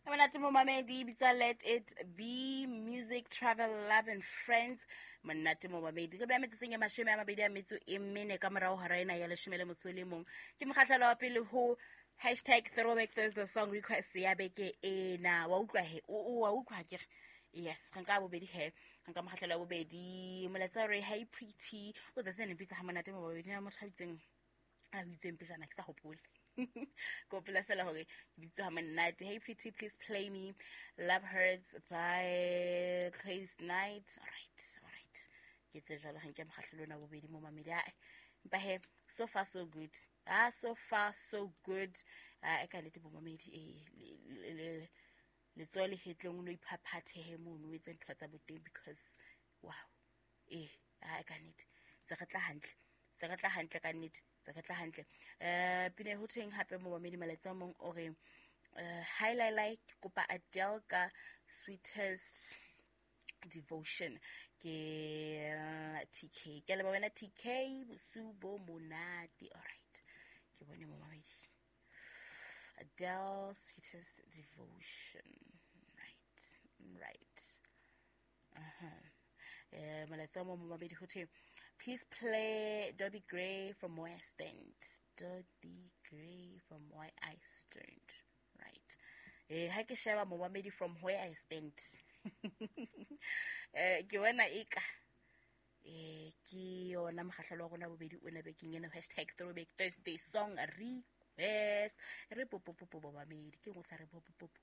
Monate momamedi, bitsa Let It Be Music, Travel, Love and Friends. Monate momamedi, re beya metsotsong e 24 ka morao hora ena ya 11. Ke mokgahlelo wa pele ho #ThrowbackThursday song request ya beke ena. Wa utlwa he, wa utlwa ke re yes, re nka bobedi he, re nka mokgahlelo wa bobedi. Molaetsa re hey pretty, o tsatsi le mpitsa ha monate momamedi, na motho a bitseng a bitsweng pejana ke sa hopole. Ke hopola fela hore ke bitswa ha monate. Hey pretty, please play me Love Hurts by Clays Night. All right, all right, ke tse jwalo ga nke mokgahlelo ona bobedi mo mamedi. Ae, empa he, so far so good. Ah, so far so good. Ah, e ka nnete bomamedi, e letsoho le hetleng o no iphaphathehe mono, o etse ntho tsa boteng because wow, ee, a ka nnete tse re tla hantle, tse re tla hantle ka nnete, tse re tla hantle. Pina ho thweng hape momamedi, malatsi a mong o re hi lai, ke kopa Adele ka Sweetest Devotion. Ke TK, ke leba wena TK, bosiu bo monate. Alright, ke bone momamedi, Adele, Sweetest Devotion. Right. Molaetsa mo momamedi ho thwe please play Dobie Gray, From Where I Stand. Dobie Gray, From Where I Stand. Right, ha ke sheba momamedi, From Where I Stand, ke bona eka ke yona mokgahlelo wa rona bobedi o na bekeng ena, #ThrowbackThursday song request. Re popopopo bomamedi, ke ngwe sa re popopopo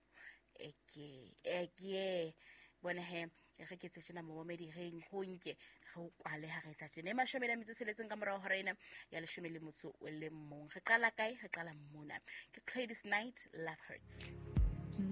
eke eke bona he, re ke tse tjena momamedi, re ho nke re o kwale ha re etsa tjena. E 16 ka morao hora ena ya 11. Re qala kae? Re qala mona, ke Gladys Knight, Love Hurts.